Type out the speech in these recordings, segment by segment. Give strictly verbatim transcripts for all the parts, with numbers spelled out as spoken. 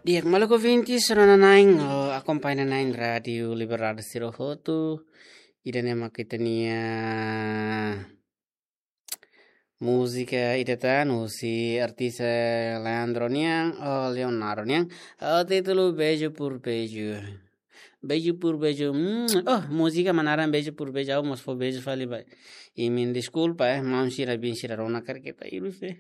Di'ak, maluk ouvintes, rona na'in, oh, akompaña na'in Rádiu Liberdade sira hotu. Ida-ne'e mak ita-nia múzika ida tan, husi artista Leandro nian, oh, Leonardo nian. Oh, títulu Beijo por Beijo. Beijo por Beijo. Mm, oh, múzika mak naran Beijo por Beijo, ha'u mós fó beijo fali ba imi, deskulpa, eh, maun sira, biin sira rona karik ita hirus, eh.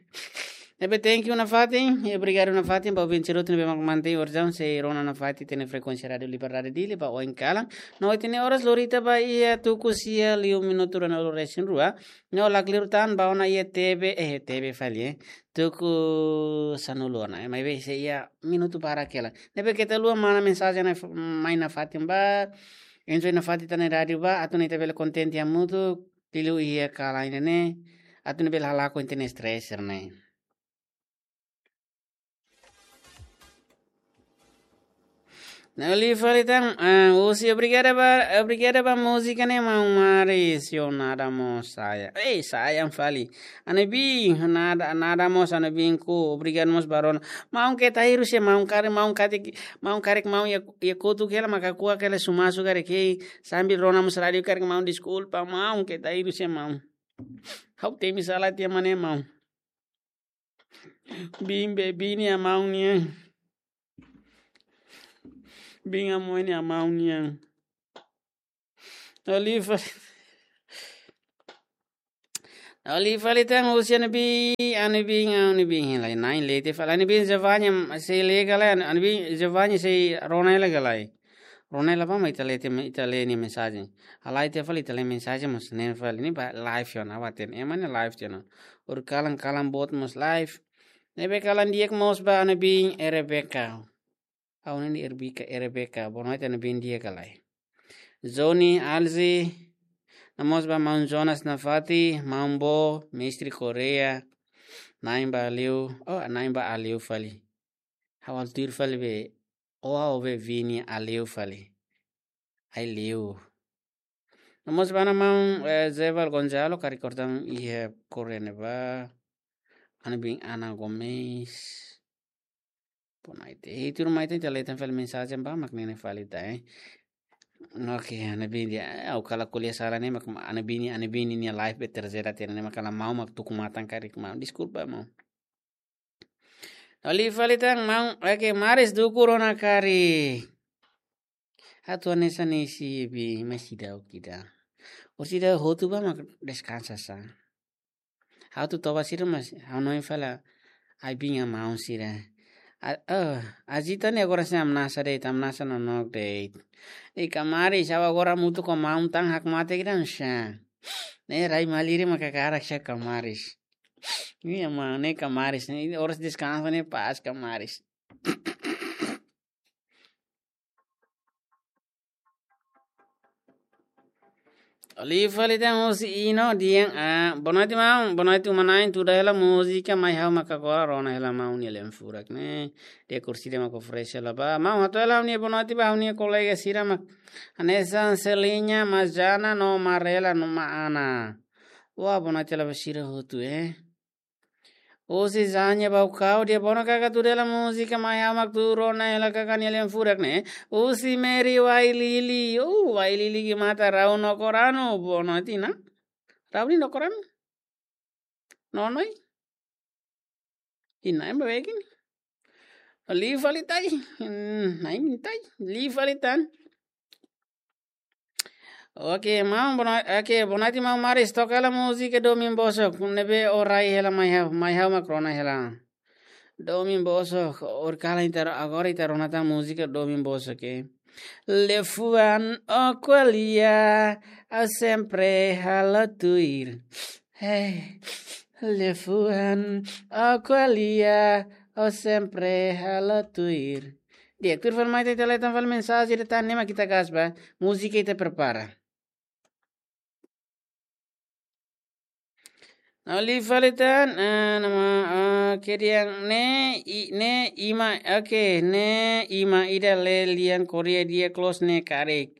Ne'ebé thank you nafatin, e obrigadu nafatin ba ouvinte sira hotu ne'ebé mak mantein orasaun sei rona nafatin ita-nia frekuénsia Rádiu Liberdade Dili ba oin kalan. No ita-nia oras lori ita ba iha tuku sia liu minutu ruanulu resin rua. No lakleur tan ba ona iha T V, eh, T V fali, eh. Tuku sanulu ona, eh, maibé sei iha minutu barak hela. Ne'ebé keta haluha mana mensajen na f-, mai nafatin ba, enjoy nafatin ita-nia rádiu ba, atu nune'e ita bele kontente hamutuk, liuliu iha kalan ida-ne'e, atu nune'e bele halakon ita-nia stress ne'e. Ne'e liu fali tan, ah, husi obrigada ba, obrigada ba múzika ne'e maun Maris, yo nada mós saya. Ei, saya fali. Anu biin, nada, nada mós anu biin ku, obrigadu mós ba rona. Maun keta hirus, maun karik, maun karik, maun karik maun iha, iha kotuk hela maka kuak hela sumasu karik, ei, sambil rona mós rádiu karik maun, deskulpa, maun keta hirus, maun. Ha'u temi sala tiha mak ne'e maun. Biin be, biin nia maun nian. Biin nia maun nian. Oliva. Oliva litan husi anu biin, anu biin, anu biin. Lai na'in lete fali anu biin Giovanni sei lee ka lae, anu biin Giovanni sei rona hela ka lae. Rona hela ba mak ita lee tiha, ita lee nia mensajen. Halai tiha fali ita lee mensajen mós ne'e fali ne'e ba live ona, awaten. Ema ne'e live tiha ona. Ohin kalan, kalan boot mós live. Ne'ebé kalan di'ak mós ba anu biin Rebecca. Ha'u-nia Rebecca, Rebecca. Boa noite anu biin di'ak ka lae. Johnny Alzi. No mós ba maun Jonas nafatin, maun Bo, mestre Correia. Na'in ba Aliu. Oh, na'in ba Aliu fali. Ha'u halo tuir fali be, oh, ha'u be Vini Aliu fali. Ai liu. No mós ba ona maun, eh, Zeval Gonzalo, karik orsida iha Correia ne'ebá. Anu biin Ana Gomes. Boa noite. Ei, tuirmai ita lee tan fali mensajen ba mak ne'e fali tan, eh. Oke, anu biin di'ak, eh, ha'u kala ko'alia sala ne'e mak anu biin, anu biin nia live be terjera tiha ne'e mak kala maun mak tuku matan karik maun. Deskulpa maun. Oliva litan maun, oke, Maris dukur ona karik. Atu hanesan ne'e sei be, mas seidauk ida. Orsida hotu ba mak deskansa sa. Ha'u atu toba sira mas, ha'u hanoin fali, ai biin nia maun sira. A, oh, Azita ne'e agora sei hamnasa de'it, hamnasa nonook de'it. I kamaris, ha'u agora hamutuk ho maun tan hakmatek ida hanesan. Ne'e rai malirin mak hakarak sa kamaris. Nia maun ne'e kamaris, ne'e oras deskansa ne'e pas kamaris. Oliva litan husi Ino dehan, ah, boa noite maun, boa noite uma-na'in, tuda hela múzika, mai ha'u mak agora rona hela maun nia lian furak ne'e. Di'ak, orsida mak oferese hela ba. Maun, hato'o hela ha'u-nia boa noite ba ha'u-nia kolega sira mak hanesan Seliña, Mazana, no Marela, no Ma Ana. Wah, boa noite hela ba sira hotu, eh. Husi Zanya Baucau, di'ak, boa noite kaka, tuda hela múzika, mai ha'u mak atu rona hela kaka nia lian furak ne'e. Husi Mary Wailili, oh, Wailili Gimata, rau no koranu, boa noite, na? Rau ni no koranu? Nonoi? Ina, ema begini. Liu fali tan. Hmm, na'in tan. Liu fali tan. Oke, maun, boa noi-, oke, boa noite, maun Maris. Toka hela múzika Domin Bosok. Ne'ebé o rai hela mai ha'u, mai ha'u mak rona hela. Domin Bosok, ohin kalan ita, agora ita rona tan múzika Domin Bosok, eh. Liafuan ó ko'alia, ó sempre halo tuir. Hey, liafuan ó ko'alia, ó sempre halo tuir. Di'ak, tuir fali mai ita lee tan fali mensajen ida tan ne'e mak ita gas ba, múzika ita prepara. Liu fali tan, ah, nama, ah, kemudian ne'e, i-, ne'e ima, oke, ne'e ima ida lee lian Korea di'ak, close ne'e karik.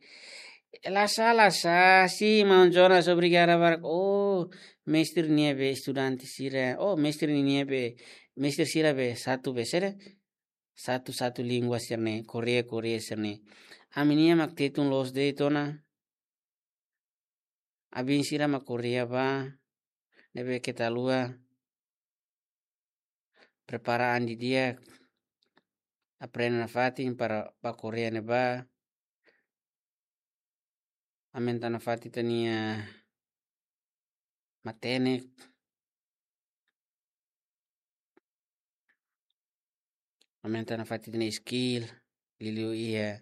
La sala sa, si maun Jonas, obrigada barak. Oh, mestre nia be estudante sira. Oh, mestre nia be, mestre sira be satu be sira. satu-satu língua sira-ne'e, Koreia, Koreia sira-ne'e. Ami-nia mak tetun loos de'it ona. Abin sira mak Koreia bá, ne'ebé keta haluha prepara an didi'ak, aprende nafatin para bá Koreia ne'ebá, aumenta nafatin ita-nia matenek, aumenta nafatin ita-nia skill, liuliu iha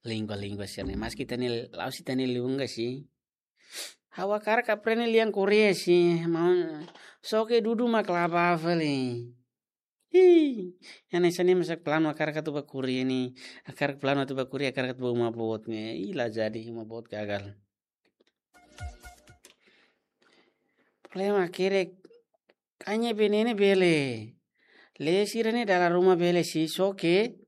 língua-língua sira-ne'e. Maski ita-nia, la'ós ita-nia língua sih. Ha'u hakarak aprende lian Koreia sih, maun, só ke dudu mak la bá fali. Ih, hanesan ne'e mak ha'u planu hakarak atu bá Koreia ne'e, hakarak planu atu bá Koreia, hakarak atu bá uma boot ne'e. Ih, la jadi, uma boot gagal. Problema hakerek, hanya be ne'e ne'e bele. Lee sira-ne'e dala ruma bele sih, só ke,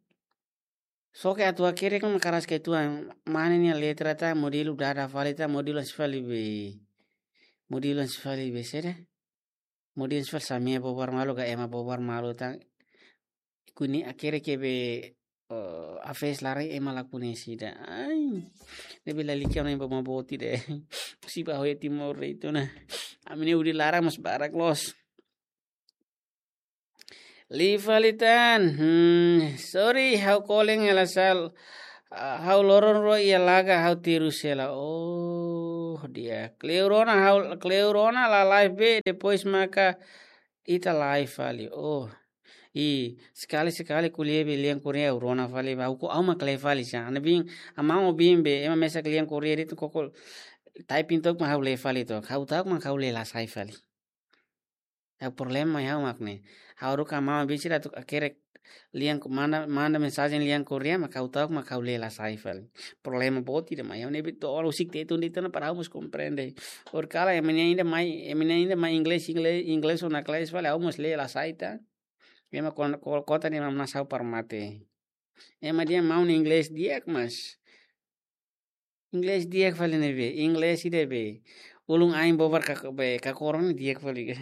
só ke atu hakerek mak karas ke tuan, mane nia letra tan, modelu dada fali tan, modelu hanesan fali be. Modelu hanesan fali be saida? Modelu hanesan fali Samia bobar malu ka Ema bobar malu tan. Kuandu hakerek be, eh, hafes laran ema la koñese ida. Ai. Ne'ebé lalika ona ba uma boot ida. Husi ba hoya Timor de'it ona. Ami-nia udi laran mós barak loos. Liu fali tan. Hmm, sorry, ha'u kolen hela sal. Ah, ha'u loron rua iha laga ha'u terus hela. Oh, di'ak. Kleur ona ha'u, kleur ona la live be, depois maka ita live fali. Oh. I, sekali-sekali ko'alia be lian Koreia ha'u rona fali ba. Ha'u ko ha'u mak lee fali sá. Ne'ebé, amau bin be, ema mesak lian Koreia de'it koko typing took mak ha'u lee fali took. Ha'u ta'uk mak ha'u lee la sai fali. Ha'u problema ha'u mak ne'e. Ha'u haruka amau bin sira atu hakerek lian ko-, manda, manda mensajen lian Koreia, mak ha'u ta'uk mak ha'u lee la sai fali. Problema boot ida mak ha'u ne'ebé to'o husik tetun de'it ona para ha'u mós komprende. Horikalan ema-nia ida mai, ema-nia ida mai inglés, inglés, inglés ona kelas fali, ha'u mós lee la sai tan. Ema kon-, ko-, konta ne'e mak nasau para mate. Ema dehan maun inglés di'ak mas. Inglés di'ak fali ne'ebé, inglés ida be. Ulun ain bobar ka be, kakoron di'ak fali.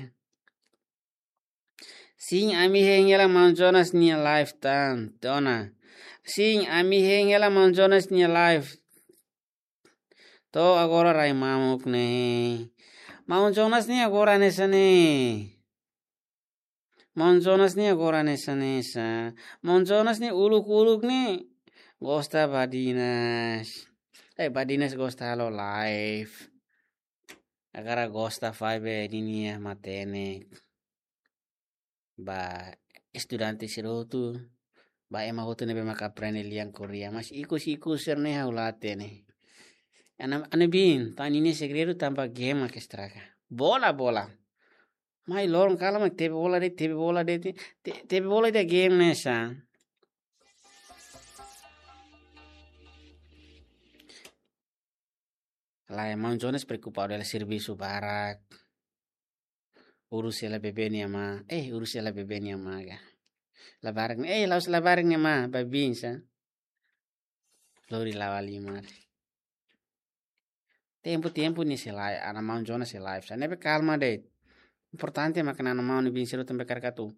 Sin, ami hein hela maun Jonas nia live tan, to'o ona. Sin, ami hein hela maun Jonas nia live. To'o agora rai mamuk ne'e. Maun Jonas ne'e agora hanesan ne'e. Maun Jonas ne'e agora hanesan ne'e sá. Maun Jonas ne'e uluk-uluk ne'e gosta badinas. Eh, badinas gosta halo live. Agora gosta fali be ninia matenek. Ba estudante sira hotu, ba ema hotu ne'ebé maka aprende lian Koreia. Mas ikus-ikus sira-ne'e ha'u la hatene. Ana, ana bin, tan ninia segredu tanba game mak estraga. Bola, bola. Mai loron kalan mak tebe bola de'it, tebe bola de'it, te-, tebe bola de'it game ne'e sá. Lae, maun Jonas preokupa hela servisu barak. Urus hela bebé nia amá. Eh, urus hela bebé nia amá ga. Labarik, eh, la'ós labarik nia amá, ba bin sá. Lori la'o halimar. Tempu-tempu nia sei live, ana maun Jonas sei live sá. Ne'ebé kalma de'it. Importante mak ana maun nia bin sira hotu ne'ebé karik atu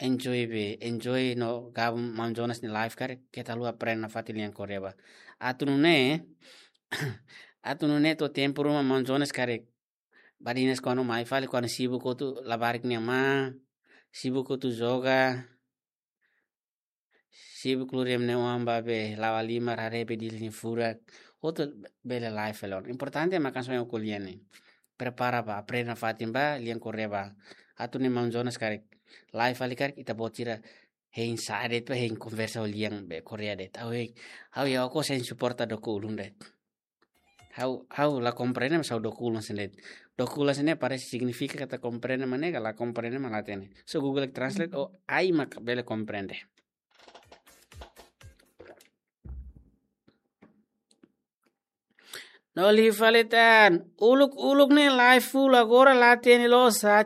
enjoy be, enjoy no gabung maun Jonas nia live karik, keta haluha aprende nafatin lian Koreia ba. Atu nune'e, atu nune'e to'o tempu ruma maun Jonas karik badinas kuandu mai fali, kuandu sibuk hotu labarik nia amá, sibuk hotu joga, sibuk lori ema nia oan ba be la'o halimar haree be Dili nia furak, hotu bele live fali ona. Importante mak hanesan ohin ko'alia ne'e. Prepara ba, aprende nafatin ba lian Koreia ba. Atu nune'e maun Jonas karik live fali karik, ita-boot sira hein sa'e de'it ba, hein konversa ho lian be Koreia de'it. Ha'u hein, ha'u iha okos hein suporta doku ulun de'it. Ha'u, ha'u la komprende mas ha'u doku ulun sendiri. Doku ulun sendiri parese signifika katak komprende mak ne'e ka la komprende mak la hatene. So Google Translate, o ai mak bele komprende. No liu fali tan, uluk-uluk ne'e live full agora la hatene loos sá.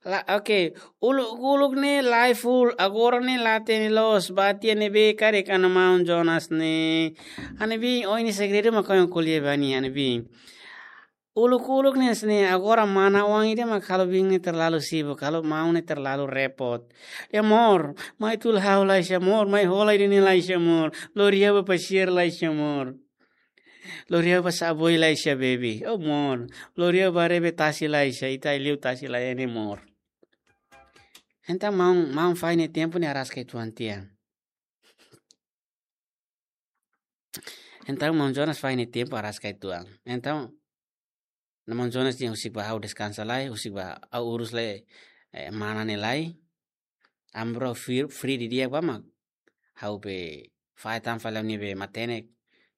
La, oke. Uluk-uluk ne'e live full agora ne'e la hatene loos, ba tiha ne'ebé karik ana maun Jonas ne'e. Ana bin, ohin nia segredu mak ohin ko'alia ba nia, ana bin. Uluk-uluk ne'e, ne'e agora mana oan ida mak halo biin ne'e terlalu sibuk, halo maun ne'e terlalu repot. Ya amor, mai tula ha'u lai sá amor, mai hola ida-ne'e lai sá amor. Lori ha'u bá pasiar lai sá amor. Lori ha'u bá saboi lai sá baby. Oh amor, lori ha'u bá haree tasi lai sá, ita liu tasi lai ne'e amor. Entaun maun, maun fahe nia tempu ne'e araska uitoan tiha. Entaun maun Jonas fahe nia tempu araska uitoan. Entaun maun Jonas dehan husik bá ha'u deskansa lai, husik bá ha'u urus lai, eh, mana ne'e lai. Ami bro free, free didi'ak bá mak ha'u bá fahe tan fali ami-nia matenek.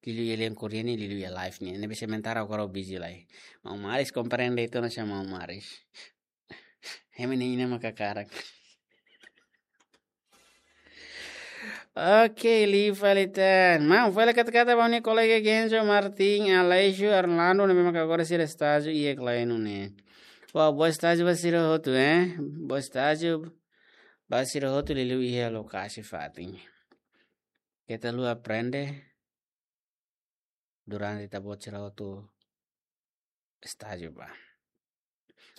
Liuliu iha lian Korea ne'e, liuliu iha live ne'e. Ne'ebé sementara agora ha'u busy lai. Maun Maris komprende uitoan ona sá maun Maris. Hemu ne'e ina mak hakarak. Oke, liu fali tan. Maun, fali kata-kata ba ha'u-nia kolega Genzo, Martin, Aleixo, Orlando, ne'ebé mak agora sira estájiu iha Klainu ne'e. Wah, boa estájiu ba sira hotu, eh? Boa estájiu ba sira hotu liuliu iha lokasi fatin. Keta haluha aprende durante ita-boot sira hotu estájiu bá.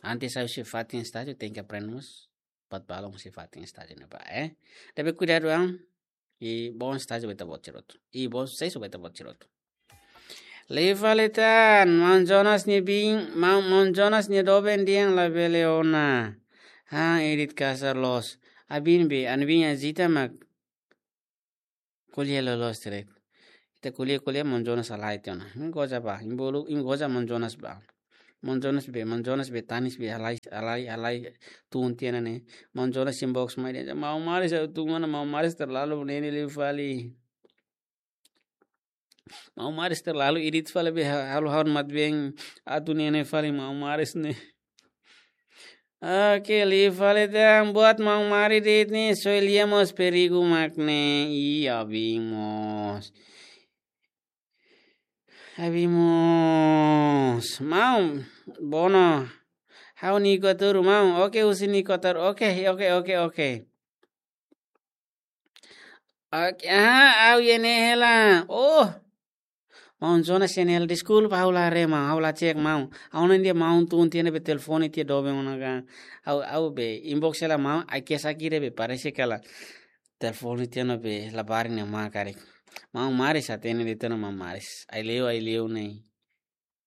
Antes ha'u husi fatin estájiu, tenke aprende mós buat balun husi fatin estájiu ne'ebá, eh. Ne'ebé kuidadu an, i bom estájiu ba ita-boot sira hotu. I bom suksesu ba ita-boot sira hotu. Liu fali tan, maun Jonas nia biin, maun, maun Jonas nia doben dehan labele ona. Ha, edit kasar loos. Abin be, ami-nia biin Azita mak ko'alia loloos de'it. Ita ko'alia, ko'alia maun Jonas halai tiha ona. Imi goza bá, imi bolu, imi goza maun Jonas bá. Maun Jonas be, maun Jonas be, tanis be, halai, halai, halai tun tiha ona ne'e. Maun Jonas inbox mai dehan, maun Maris, ha'u tun ona, maun Maris terlalu nene liu fali. Maun Maris terlalu edit fali be, ha-, halo haun mat beng, atu nene fali maun Maris ne'e. Oke, liu fali tan buat maun Maris de'it ne'e, só lia mós perigu mak ne'e. Iya, abin mós. Abin mós. Maun, Bono. Ha'u Niko Turu, maun. Oke, husi Niko Turu. Oke, oke, oke, oke. Oke, ah, ha'u iha ne'e hela. Oh. Maun Jonas iha ne'e hela, deskulpa, ha'u la haree maun, ha'u la cek maun. Ha'u hanoin dehan maun tun tiha ona be telefone tiha doben ona ka. Ha'u, ha'u be inbox hela maun, ai ke saki de'it be parese katak telefone tiha ona be labarik ne'e mak karik. Maun Maris hatene de'it ona maun Maris. Ai leu, ai leu ne'e.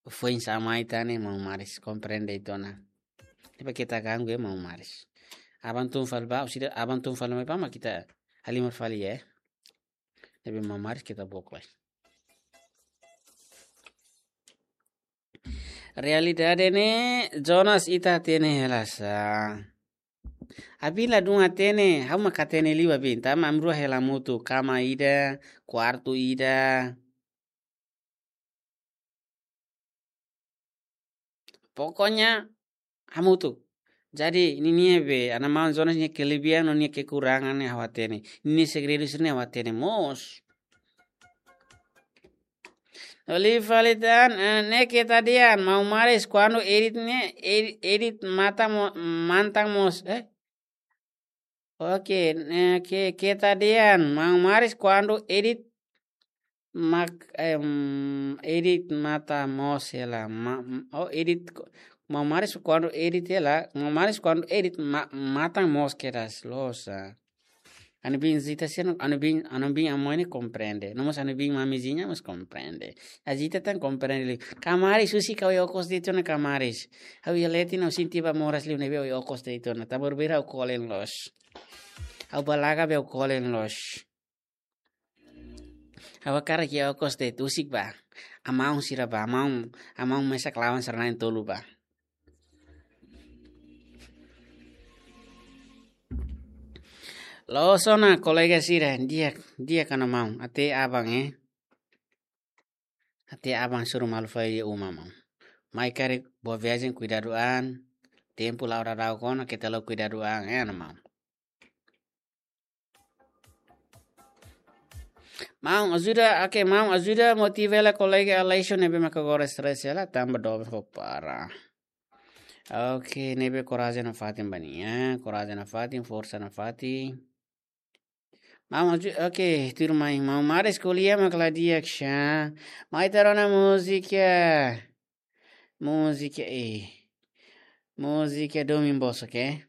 Foin sá mai tan ne'e maun Maris, komprende uitoan ona. Depois keta ganggu maun Maris. Aban tun fali bá, orsida aban tun fali mai bá mak ita halimar fali ya. Ne'ebé maun Maris keta book lai. Realidade ne'e, Jonas, ita hatene hela sá. Abin ladún hatene, ha'u mak hatene liu abin, tanba ami rua hela hamutuk, kama ida, kuartu ida. Pokoknya, hamutuk. Jadi, ninia be, maun Jonas nia kelebihan no nia kekurangan ne'e ha'u hatene. Nia segredu sira-ne'e ha'u hatene mós. Liu fali tan, eh, ne'e keta dehan, maun Maris kuandu edit ne'e, edi-, edit matan mo-, matan mós, eh? Oke, eh, ke-, keta dehan, maun Maris kuandu edit mak, em, edit matan mós hela, ma-, oh, edit ko-, maun Maris kuandu edit hela, maun Maris kuandu edit ma-, matan mós kedas losa. Ami-nia biin Azita sira, ami-nia biin, ami-nia biin Amoy ne'e komprende. No mós ami-nia biin Mamizinha mós komprende. Azita tan komprende liu. Kamaris, husik ha'u iha okos de'it ona kamaris. Ha'u iha leten ha'u sente bá moras liu ne'ebé ha'u iha okos de'it ona. Tanba beibeik ha'u kolen loos. Ha'u balaga be ha'u kolen loos. Ha'u hakarak iha okos de'it, husik bá. Amaun sira bá, amaun, amaun mesak lawan sira na'in-tolu bá. Loos ona kolega sira, di'ak, di'ak ona maun, até aban, eh. Até aban, suru malu fali iha uma maun. Mai karik boa viajen, kuidadu an, tempu la'o daudauk ona, keta la'o kuidadu an, eh, ona maun. Maun ajuda, oke, maun ajuda motiva hela kolega Aleixo ne'ebé maka agora stress hela, tanba doben fó para. Oke, ne'ebé korajen nafatin ba nia, korajen nafatin, forsa nafatin. Maun aju-, oke, tuirmai, maun Maris ko'alia mak la di'ak sá. Mai ita rona múzika. Múzika e. Múzika domin boso ke.